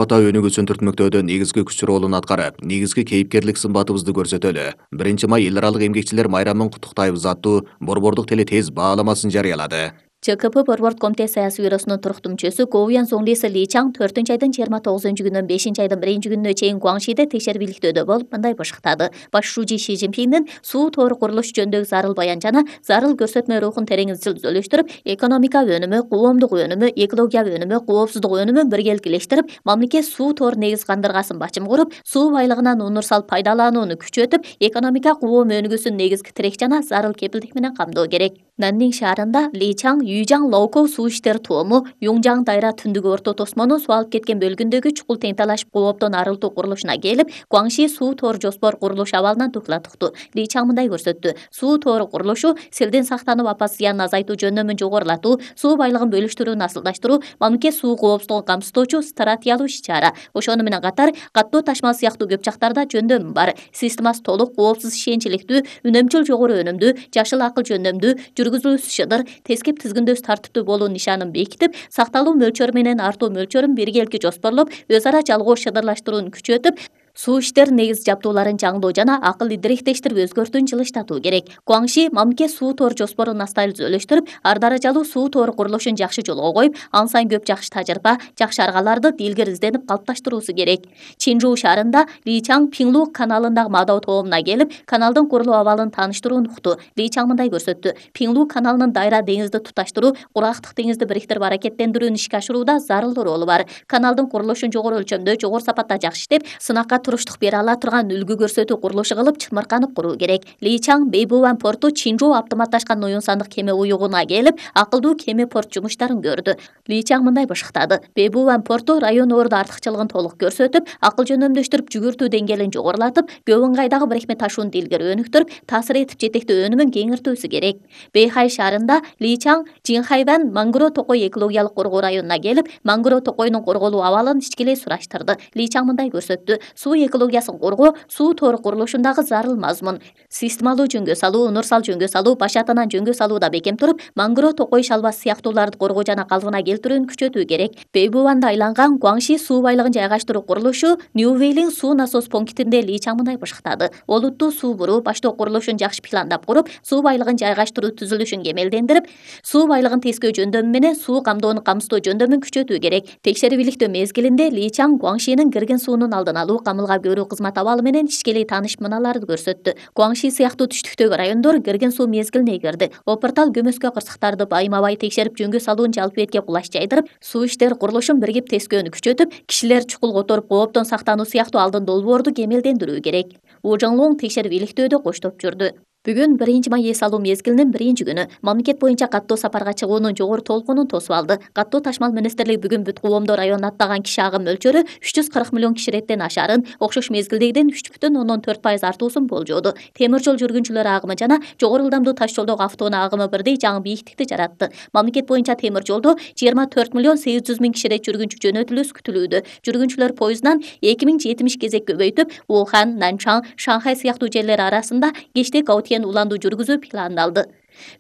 Ата өнүгүүсүн түртмөктөөдө негизги күч ролун аткарып, негизги кейипкерлик сымбатыбызды көрсөтөлү. 1 май эл аралык эмгекчилер майрамын куттуктайбыз аттуу борбордук теле тез бааламасын жарыялады. ЧКП Борборд комитет саясий бюросунун туруктумчусу Говуян Зоңлиси Ли Чаң 4-айдын 29-күнүнөн 5-айдын 1-күнүнө чейин Гуаңшиде текшербиликтөөдө болуп мындай бышыктады. Баш шужи Ши Цзиньпиндин суу тору курулушу жөнүндөгү зарыл баян жана зарыл көрсөтмө рухун терең изилдөөлөштүрүп, экономика өнүмү, коомдук өнүмү, экология өнүмү, коопсуздук өнүмүн биргеликилештирип, мамлекет суу тору негиз кандыргасын бачым куруп, суу байлыгынан универсал пайдаланууну күчөтүп, экономика коом өнүгүүсүн негизги тирек жана зарыл кепилдик менен камдоо керек. Наннин шаарында Ли Чаң Юйжаң Лоукоу суу иштери тоому Юңжаң дайра түндүк орто тосмонун суу алып кеткен бөлүгүндөгү чукул тең талашып кооптон арылтуу курулушуна келип, Гуаңши суу тору жоспор курулуш абалынан тукталат укту. Ли Чаң мындай көрсөттү: суу тору курулушу селден сактанып, апат зыянын азайтуу жөндөмүн жогорулатуу, суу байлыгын бөлүштүрүүнү асылдаштыруу, мамлекет суу коопсуздугун камсыздоочу стратегиялык иш-чара. Ошону менен катар каттоо ташмал сыяктуу көп жактарда жөндөм бар. Системасы толук, коопсуз, ишенчиликтүү, үнөмчүл жогору өнүмдүү, жашыл акыл жөндөмдүү, жүргүзүүсү шыдыр, тескеп тизгиндөөсү тартиптүү болуу нишанын бекитип, сакталуу мөлчөрү менен артуу мөлчөрүн биргеликти жоспорлоп, өз ара жалгоо шыдырлаштырууну күчөтүп, суу иштери негиз жабдууларын жаңдоо жана акылды директештирип өзгөртүүнү жылыштатуу керек. Гуаңши мамлекет суу тору жоспорун астайлы түзөлүштүрүп, ар даражалуу суу тору курулушун жакшы жолго коюп, ан сайын көп жакшы тажрыйба, жакшы аргаларды дилгер изденип калыпташтыруусу керек. Чинжу шаарында Ли Чаң Пиңлу каналындагы Мадоо тоомуна келип, каналдын курулуу абалын тааныштырууну укту. Ли Чаң мындай көрсөттү: Пиңлу каналынын дайра деңизди туташтыруу, кургактык деңизди бириктирип аракеттендирүүнү ишке ашырууда зарыл ролу бар. Каналдын курулушун жогору өлчөмдө, жогору сапатта жакшы иштеп, сынакка туруштук бере ала турган үлгү көрсөтүү курулушу кылып чымырканып куруу керек. Ли Чаң Бэйбуан порту Чинжу автоматташкан уюн сандык кеме уюгуна келип, акылдуу кеме порт жумуштарын көрдү. Ли Чаң мындай бышыктады: Бэйбуан порту район орду артыкчылыгын толук көрсөтүп, акыл жөндөмдөштүрүп, жүгүртүү деңгээлин жогорулатып, көп ыңгайдагы бирикме ташууну дилгер өнүктүрүп, таасир этип жетектөө өнүмүн кеңиртүүсү керек. Бэйхай шаарында Ли Чаң Жинхайван Мангро токой экологиялык коргоо районуна келип, Мангро токойнун корголуу абалын ичкилей сураштырды. Ли Чаң мындай көрсөттү: суу экологиясын коргоо суу тору курулушундагы зарыл мазмун. Системалуу жөнгө салуу, универсал жөнгө салуу, баш атанан жөнгө салууда бекем туруп, Мангро токой шалбасы сыяктууларды коргоо жана калыбына келтирүүнү күчөтүү керек. Бэйбуанда айланган Гуаңши суу байлыгын жайгаштыруу курулушу Ньювейлин суу насос пунктинде Ли Чаң мындай бышыктады: олуттуу суу буруу баштоо курулушун жакшы пландап куруп, суу байлыгын жайгаштыруу түзүлүшүн кемелдендирип, суу байлыгын тескөө жөндөмү менен суу камдоону камсыздоо жөндөмүн күчөтүү керек. Текшербиликтөө мезгилинде Ли Чаң Гуаңшинин кирген суунун алдын алуу, камылга көрүү кызмат абалы менен ишкелей таанышып мыналарды көрсөттү. Гуаңши сыяктуу түштүктөгү райондор кирген суу мезгилине кирди. Опортал көмөскө кырсыктарды байма-бай текшерип, жөнгө салуун жалпы бетке кулаш жайдырып, суу иштери курулушун биригип тескөөнү күчөтүп, кишилер чукул которуп, кооптон сактануу сыяктуу алдын долбоорду кемелдендирүү керек. У Жаңлоң текшербиликтөөдө коштоп жүрдү. Бүгүн 1-май эс алуу мезгилинин 1-күнү. Мамлекет боюнча каттоо сапарга чыгуунун жогору толкунун тосуп алды. Каттоо ташмал министрлиги бүгүн Бүт Кубомдо районуна аттаган киши агым мөлчөрү 340 миллион киши реттен ашарын, окшош мезгилдегиден 3,4% артуусун болжооду. Темир жол жүргүнчүлөр агымы жана жогору ылдамдуу таш жолдогу автоунаа агымы бирдей жаңы бийиктикти жаратты. Мамлекет боюнча темир жолдо 24 миллион 800 миң киши рет жүргүнчү жөнөтүлүүсү күтүлүүдө. Жүргүнчүлөр поезддан 2070 кезек көбөйтүп, Ухань, Нанчан, Шанхай сыяктуу жерлер арасында кечте уландуу жүргүзүү пландалды.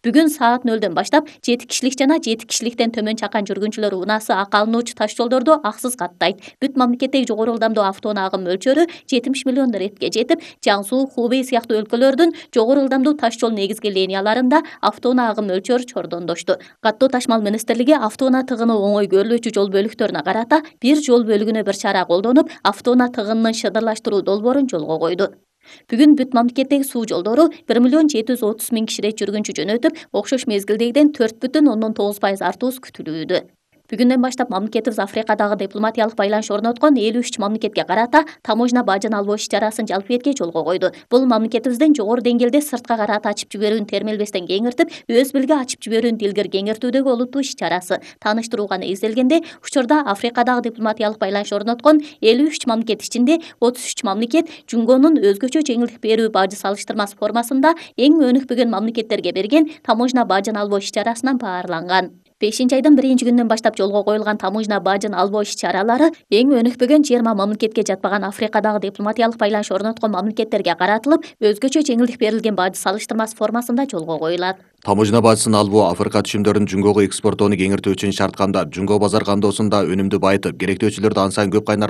Бүгүн саат 0-дөн баштап 7 кишилик жана 7 кишиликтен төмөн чакан жүргүнчүлөр унаасы ак алынуучу таш жолдордо аксыз каттайт. Бүт мамлекеттеги жогору ылдамдуу автоунаа агым мөлчөрү 70 миллион ретке жетип, Жаңсу, Хубей сыяктуу өлкөлөрдүн жогору ылдамдуу таш жол негизги линияларында автоунаа агым мөлчөрү чордондошту. Каттоо ташмал министрлиги автоунаа тыгыны оңой көрүлүүчү жол бөлүктөрүнө карата бир жол бөлүгүнө бир чара колдонуп, автоунаа тыгынынын шыдырлаштыруу долбоорун жолго койду. Бүгүн бүт мамлекеттеги суу жолдору 1 миллион 730 миң киши рет жүргүнчү жөнөтүп, окшош мезгилдегиден 4,9% артуусу күтүлүүдө. Бүгүндөн баштап мамлекетибиз Африкадагы дипломатиялык байланыш орноткон 53 мамлекетке карата таможня бажын албоо иш-чарасын жалпы бетке жолго койду. Бул мамлекетибиздин жогору деңгээлде сыртка карата ачып жиберүүнү термелбестен кеңиртип, өз билге ачып жиберүүнү дилгер кеңиртүүдөгү олуттуу иш-чарасы. Тааныштырууга негизделгенде, учурда Африкадагы дипломатиялык байланыш орноткон 53 мамлекет ичинде 33 мамлекет Жунгонун өзгөчө жеңилдик берүү бажы салыштырмасы формасында эң өнүкпөгөн мамлекеттерге берген таможня бажын албоо иш-чарасынан баарланган. 5 айдын 1-күнүнөн баштап жолго коюлган таможня бажын албоо иш-чаралары эң өнүкпөгөн 20 мамлекетке жатпаган Африкадагы дипломатиялык байланыш орноткон мамлекеттерге каратылып, өзгөчө жеңилдик берилген бажы салыштырмасы формасында жолго коюлат. Таможня бажысын албоо Африка түшүмдөрүнүн Жунгого экспортоону кеңиртүү үчүн шарт камдап, Жунго базар кандоосунда өнүмдү байытып, керектөөчүлөрдү ан сайын көп кайнарлуу